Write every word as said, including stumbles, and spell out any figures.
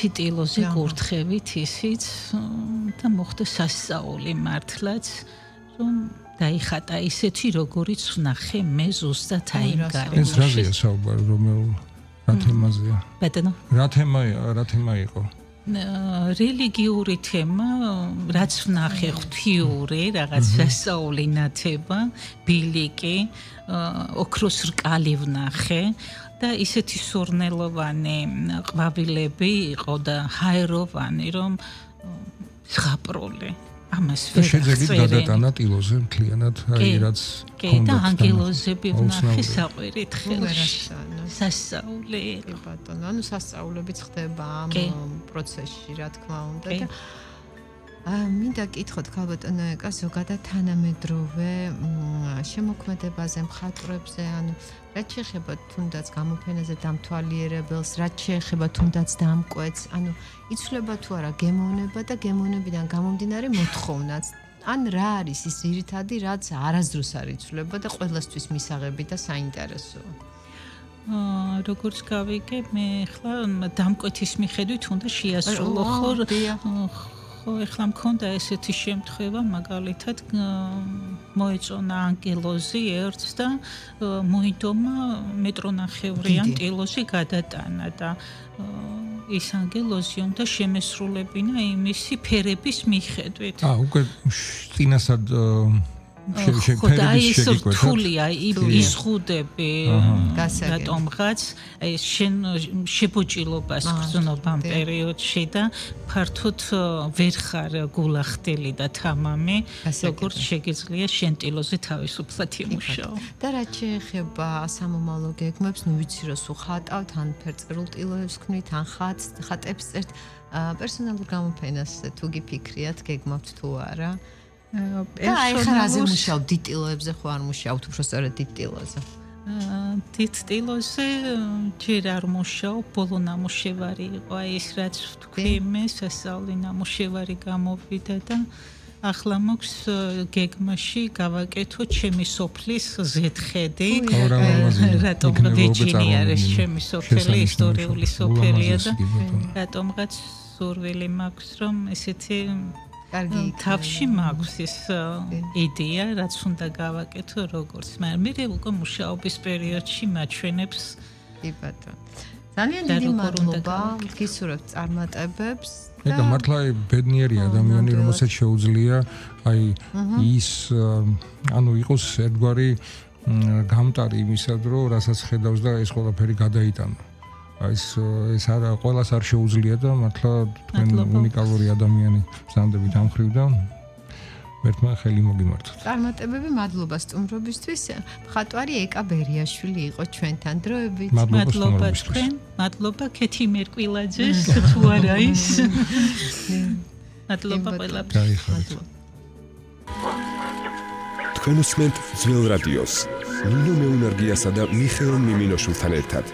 კაცი ტილოზე კურთხევით ისიც და მოხდა სასწაული მართლაც რომ დაიხატა ისეთი როგორიც ვნახე მე ზუსტად აი გარემოში. ეს რაზეა საუბარი რომელ რა თემაზეა? ბატონო. რა თემაა, რა თემა იყო? რელიგიური თემა, რაც ვნახე ღვთიური, რაღაც სასწაული ნათება, ბილიკი, ოქროს რკალი ვნახე და ისეთი სურნელოვანი ყვავილები იყო და ჰაეროვანი, რომ ზღაპრული. ამას ვერ შეძეგით გადატანა ტილოზე მთლიანად, აი რაც ჰქონდა. და ანგელოზები ვნახე საყვირით ხელში. სასწაული. კი ბატონო, ანუ სასწაულებიც ხდება ამ პროცესში, რა თქმა უნდა და აა მინდა კითხოთ ქალბატონო ეკა ზოგადად თანამედროვე შემოქმედებაზე, მხატვრებზე, ანუ რაც შეეხება თუნდაც გამოფენაზე დამთვალიერებელს, რაც შეეხება თუნდაც დამკვეთს, ანუ იცვლება თუ არა გემოვნება და გემოვნებიდან გამომდინარე მოთხოვნაც. ან რა არის ის ძირითადი, რაც არასდროს არ იცვლება და ყველასთვის მისაღები და საინტერესოა. აა როგორც გავიგე, მე ახლა დამკვეთის მიხედვით უნდა შეასრულო ხო ხო ახლა მქონდა ესეთი შემთხვევა მაგალითად მოეწონა ანგელოზი ერთს და მოიდომა მეტრონახევრიან ტილოზე გადატანა და ის ანგელოზი უნდა შემესრულებინა იმისი ფერების მიხედვით. აა უკვე წინასად და ის რთულია იზღუდები რატომღაც შენ შებოჭილობას გრძნობა ამ პერიოდში და ფართოდ ვერ ხარ გულახდელი და თამამი როგორც შეგიძლია შენ ტილოზე თავისუფლად იმუშაო. და რაც შეეხება სამომავლო გეგმებს, ნუ ვიცი რომ სულ ხატავთ, ან ფერწერულ ტილოებს ქმნით, ან ხატს, ხატებს წერთ, პერსონალურ გამოფენას თუ გიფიქრიათ, გეგმავთ თუ არა? და აი ხარ აზე მუშაობ დიტილოებზე ხო არ მუშაობთ უფრო სწორედ დიტილოზე? დიდ ტილოზე ჯერ არ მუშაობ, ბოლო ნამუშევარი იყო აი ეს რაც თქვი მე სასწაული ნამუშევარი გამოვიდა და ახლა მოქვს გეგმაში გავაკეთო ჩემი სოფლის ზეთხედი. რატომ ვეჯინი არის ჩემი სოფელი, ისტორიული სოფელია და რატომღაც სურვილი მაქვს რომ ესეთი კარგი თავში მაქვს ეს იდეა, რაც უნდა გავაკეთო როგორც, მაგრამ მე უკვე მუშაობის პერიოდში მაჩვენებს. კი ბატონო. ძალიან დიდი მადლობა, გისურვებთ წარმატებებს. ეკა მართლა ბედნიერი ადამიანი, რომელსაც შეუძლია აი ის ანუ იყოს ერთგვარი გამტარი იმისად, რომ რასაც ხედავს და ეს ყველაფერი გადაიტანა. ეს ეს არა ყველას არ შეუძლია და მართლა თქვენ უნიკალური ადამიანი ზანდებით ამ ხრივ და მერტმა ხელი მოგიმართოთ. წარმატებები, მადლობა სტუმრობისთვის. მხატვარი ეკა ბერიაშვილი იყო ჩვენთან დროებით. მადლობა თქვენ, მადლობა ქეთი მერკვილაძეს თუ არა ის. მადლობა ყველაფერს. თქვენ უსმენთ ძველ რადიოს. ნინო მეუნარგიასა და მიხეილ მიმინოშვილთან ერთად.